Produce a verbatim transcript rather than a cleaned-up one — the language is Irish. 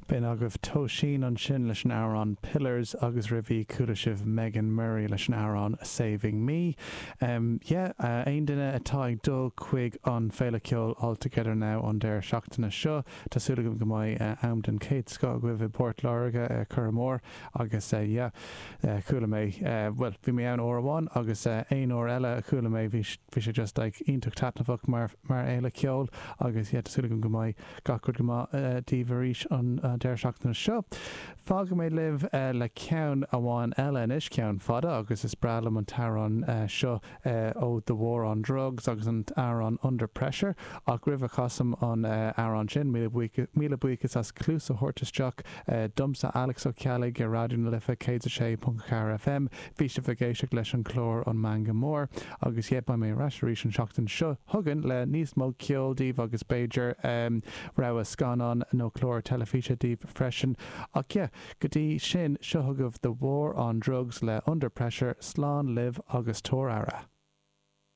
B'in agaibh Tóisín ansin leis an amhrán Pillars agus roimhe chuala sibh Megan Murray leis an amhrán Saving Me. Um, yeah, uh, aon duine atá ag dul chuig an Féile Ceoil All Together Now an deireadh seachtaine seo Tá súil agam go mbeidh uh, am den chéad scoth agaibh i bPort Láirge uh, Curramór agus uh, yeah, uh, chuala mé uh, well bhí mé ann uair amháin agus uh, aon uair eile a chuala mé bhí bhí sé just like iontach taitneamhach mar mar fhéile ceoil agus yeah, tá súil agam go mbeidh gach rud go maith uh, daoibh arís an uh, deireadh seachtaine seo. Fágfaidh mé libh uh, le ceann amháin eile anois ceann fada agus is breá liom an t-amhrán uh, seo uh, ó The War on Drugs agus an t-amhrán Under Pressure ach roimh a chasaim an uh, amhrán sin míle buíochas as cluas a thabhairt isteach uh, domsa Alex Ó Ceallaigh ar Raidió na Life céad a sé ponc ceathair FM, bhí sibh ag éisteacht leis an chlár an Meangadh Mór agus yeah beidh mé ar ais arís an seachtain seo chugainn le níos mó ceol daoibh agus b'fhéidir um, rogha scannán nó clár teilifíse daoibh freisin ach yeah, go dtí sin seo chugaibh The War on Drugs le Under Pressure slán libh agus tabhair aire.